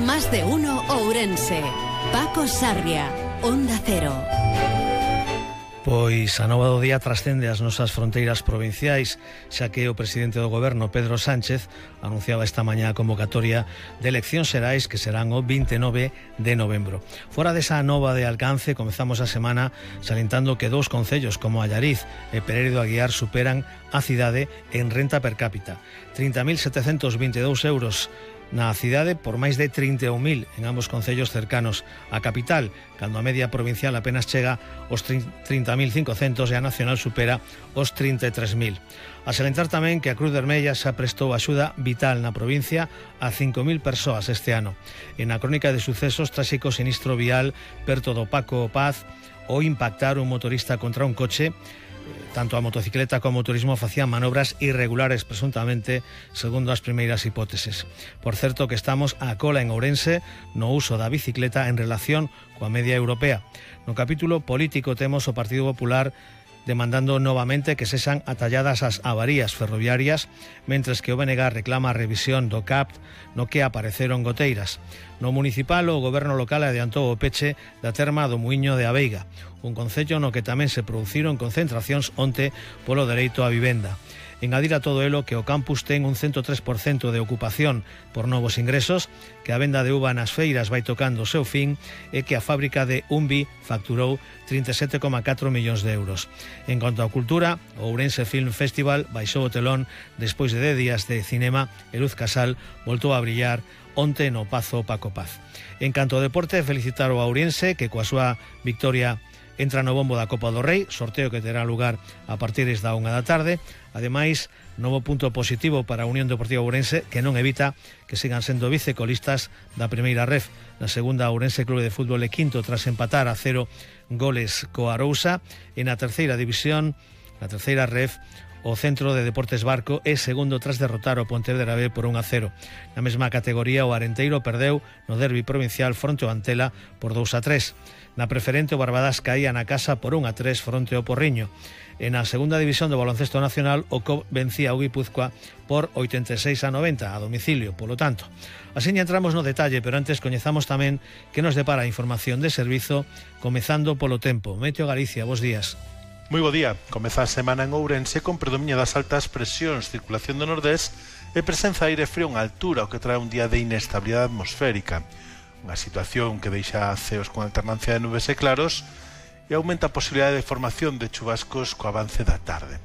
Más de uno Ourense. Paco Sarria, Onda Cero. Pois a nova do día trascende as nosas fronteiras provinciais, xa que o presidente do goberno, Pedro Sánchez, anunciaba esta mañá a convocatoria de eleccións xerais que serán o 29 de novembro. Fora desa nova de alcance, comezamos a semana salientando que dous concellos como Allariz e Pereiro de Aguiar superan a cidade en renta per cápita. 30.722 euros na cidade por máis de 31.000 en ambos concellos cercanos á capital, cando a media provincial apenas chega aos 30.500 e a nacional supera os 33.000. A salientar tamén que a Cruz Vermella xa prestou axuda vital na provincia a 5.000 persoas este ano. En a crónica de sucesos, tráxico sinistro vial perto do Paco Paz, o impactar un motorista contra un coche. Tanto a motocicleta como o motorismo facían manobras irregulares presuntamente, segundo as primeiras hipóteses. Por certo que estamos a cola en Ourense no uso da bicicleta en relación coa media europea. No capítulo político temos o Partido Popular demandando novamente que sexan atalladas as avarías ferroviarias, mentres que o BNG reclama a revisión do CAPT no que apareceron goteiras. No municipal, o goberno local adiantou o peche da terma do Muiño de Aveiga, un concello no que tamén se produciron concentracións onte polo dereito á vivenda. Engadir a todo elo que o campus ten un 103% de ocupación por novos ingresos, que a venda de uva nas feiras vai tocando o seu fin e que a fábrica de Umbi facturou 37,4 millóns de euros. En cuanto á cultura, o Ourense Film Festival baixou o telón despois de 10 días de cinema e Luz Casal voltou a brillar onte no Pazo Paco Paz. En canto ao deporte, felicitar o Ourense que coa súa victoria entra no bombo da Copa do Rei, sorteo que terá lugar a partir da 1 da tarde. Ademais, novo punto positivo para a Unión Deportiva Ourense, que non evita que sigan sendo vicecolistas da primeira ref. Na segunda, Ourense Clube de Fútbol é quinto tras empatar a 0 goles co Arousa. E na terceira división, na terceira ref, o Centro de Deportes Barco é segundo tras derrotar o Pontevedra B por 1-0. Na mesma categoría, o Arenteiro perdeu no derbi provincial fronte ao Antela por 2-3. Na preferente, o Barbadas caía na casa por 1-3 fronte ao Porriño. E na segunda división do baloncesto nacional, o COP vencía o Guipúzcoa por 86-90 a domicilio, polo tanto. Así entramos no detalle, pero antes coñezamos tamén que nos depara a información de servizo, comezando polo tempo. Meteo Galicia, bos días. Moi bo día. Comeza a semana en Ourense con predominio das altas presións, circulación do nordés e presenza de aire frío en altura, o que trae un día de inestabilidade atmosférica. Unha situación que deixa ceos con alternancia de nubes e claros e aumenta a posibilidade de formación de chubascos co avance da tarde.